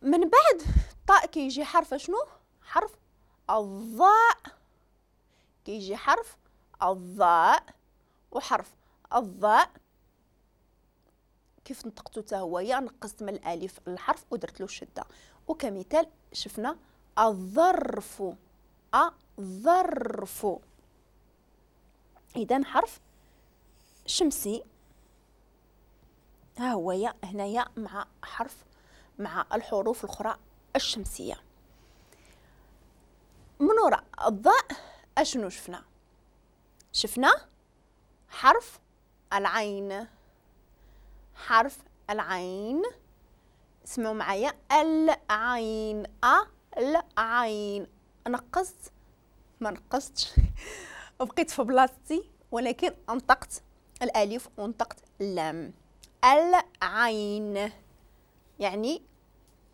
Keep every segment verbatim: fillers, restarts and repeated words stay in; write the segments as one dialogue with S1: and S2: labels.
S1: من بعد الطاء كيجي حرف شنو؟ حرف الظاء، كيجي حرف الظاء، وحرف الظاء كيف نطقتو حتى هو يا نقصت من الالف الحرف ودرت له الشدة. وكمثال شفنا الظرف، الظرف. اذا حرف شمسي ها هو يا هنايا مع حرف مع الحروف الاخرى الشمسية. من وراء الضاء اشنو شفنا؟ شفنا حرف العين، حرف العين. اسمعوا معايا، العين، العين. نقصت ما نقصتش بقيت في بلاصتي، ولكن انطقت الالف ونطقت اللام. العين يعني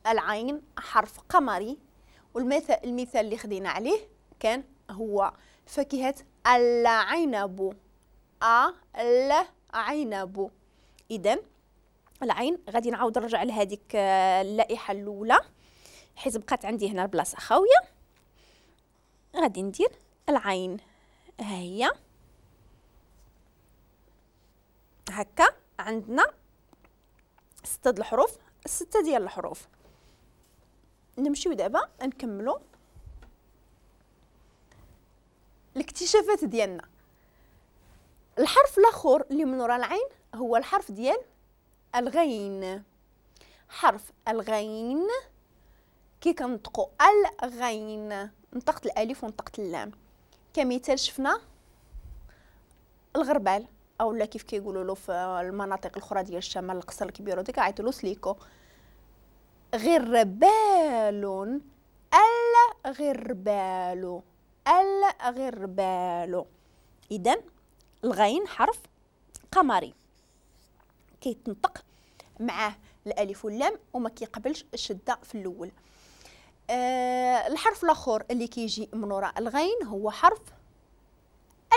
S1: العين حرف قمري، والمثال المثال اللي خدينا عليه كان هو فاكهة العنب، العنب. إذا العين غادي نعاود نرجع لهذيك اللائحة الأولى حيت بقات عندي هنا البلاصة خاوية. غادي ندير العين ها هي هكا، عندنا ستة د الحروف، ستة ديال الحروف. نمشيو دابا نكملو الاكتشافات ديالنا. الحرف الاخر اللي من وراء العين هو الحرف ديال الغين. حرف الغين كي كنطقوا الغين، نطقت الالف ونطقت اللام. كمثال شفنا الغربال، او لا كيف كيقولوا له في المناطق الاخرى ديال الشمال القصر الكبير وديك عيطوا له سليكو. غربال، الغربال، الغربال. اذا الغين حرف قمري كيتنطق معاه الالف واللام وما كيقبلش الشدة في الاول. أه الحرف الاخر اللي كيجي من وراء الغين هو حرف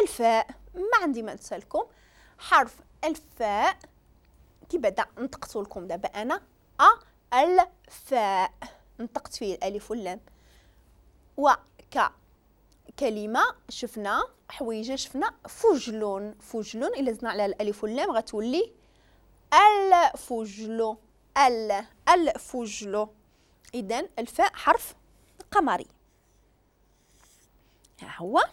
S1: الفاء. ما عندي ما نسالكم، حرف الفاء كي بعدا نطقت لكم دابا انا ا الفاء، نطقت فيه الالف واللام. وك كلمة شفنا حويجه، شفنا فجل، فجل الا زدنا على الالف واللام غتولي الفجل، ال الفجل. اذا الفاء حرف قمري. ها هو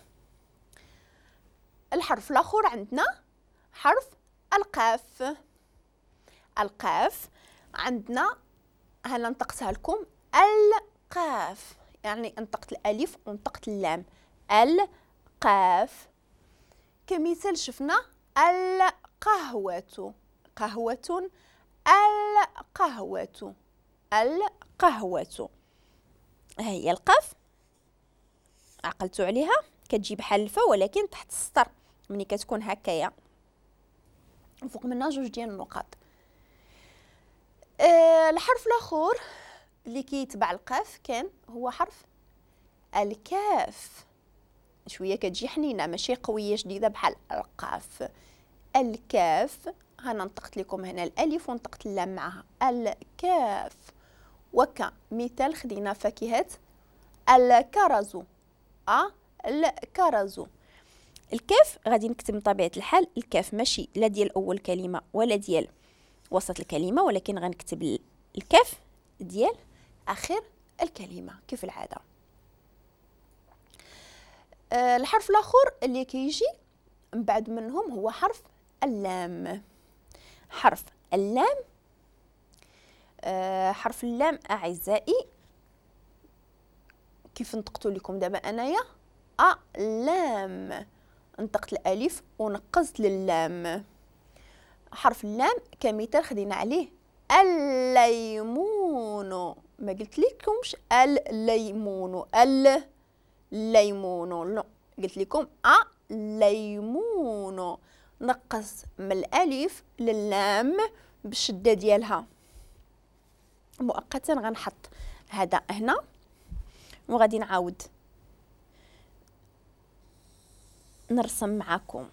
S1: الحرف الاخر عندنا حرف القاف. القاف عندنا هلا نطقتها لكم القاف، يعني نطقت الالف ونطقت اللام، القاف. كمثال شفنا القهوة، قهوة، القهوة، القهوة. ها هي القاف، عقلتوا عليها، كتجي بحال الفا ولكن تحت السطر ملي كتكون هكايا فوق منها جوج ديال النقاط. أه الحرف الاخر اللي كيتبع القاف كان هو حرف الكاف. شوية كتجي حنينه ماشي قوية شديدة بحال القاف. الكاف هنا نطقت لكم هنا الالف ونطقت اللام معها، الكاف. وكمثال خدينا فاكهة الكرز، ا الكرز. الكاف غادي نكتب بطبيعة الحال الكاف ماشي لا ديال اول كلمة ولا ديال وسط الكلمة، ولكن غنكتب الكاف ديال اخر الكلمة كيف العادة. أه الحرف الاخر اللي كيجي من بعد منهم هو حرف اللام. حرف اللام، أه حرف اللام اعزائي كيف نطقتو لكم دابا انايا ا لام، نطقت الالف ونقزت للام. حرف اللام كمثال خدينا عليه الليمون، ما قلت لكمش الليمون، الليمون، لا قلت لكم الليمون. نقص من الالف للام بالشدة ديالها. مؤقتا غنحط هذا هنا وغادي نعاود نرسم معكم.